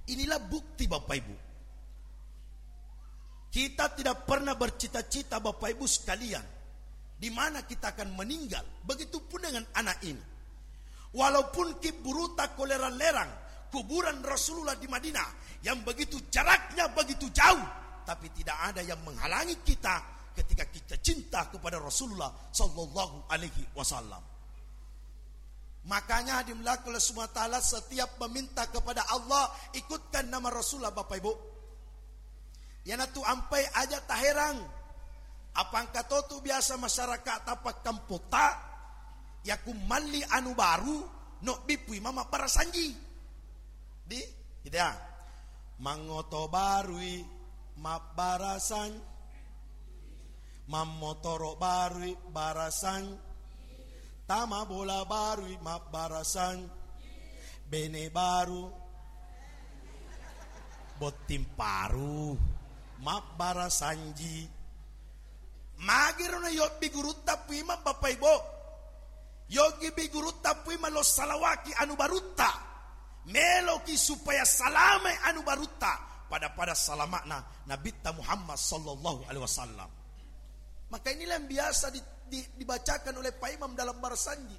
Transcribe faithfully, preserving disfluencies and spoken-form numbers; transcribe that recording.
Inilah bukti, Bapak Ibu. Kita tidak pernah bercita-cita, Bapak Ibu sekalian, di mana kita akan meninggal. Begitupun dengan anak ini. Walaupun ki buruta ko lerang-lerang kuburan Rasulullah di Madinah yang begitu jaraknya begitu jauh, tapi tidak ada yang menghalangi kita ketika kita cinta kepada Rasulullah sallallahu alaihi wasallam. Makanya dimuliakan oleh Subhanahu wa Ta'ala, setiap meminta kepada Allah, ikutkan nama Rasulullah, Bapak Ibu. Iyanatu ampai aja taherang. Apa engka to tu biasa masyarakat tapakkampota, ya ku malli anu baru, no bipui mama barasanji. Di, gitu ya. Mangoto barui mabbarasan, mammotoro barui barasan, tama bola barui mabbarasan, bene baru, botting paru mabbarasanji. Magiro na yobbi gurutta puima, Bapak Ibu. Yogi bi gurutta puima lo salawaki anu barutta. Meloki supaya salame anu barutta pada-pada salama'na Nabitta Muhammad sallallahu alaihi wasallam. Maka inilah yang biasa di, di, dibacakan oleh Pak Imam dalam barasanji.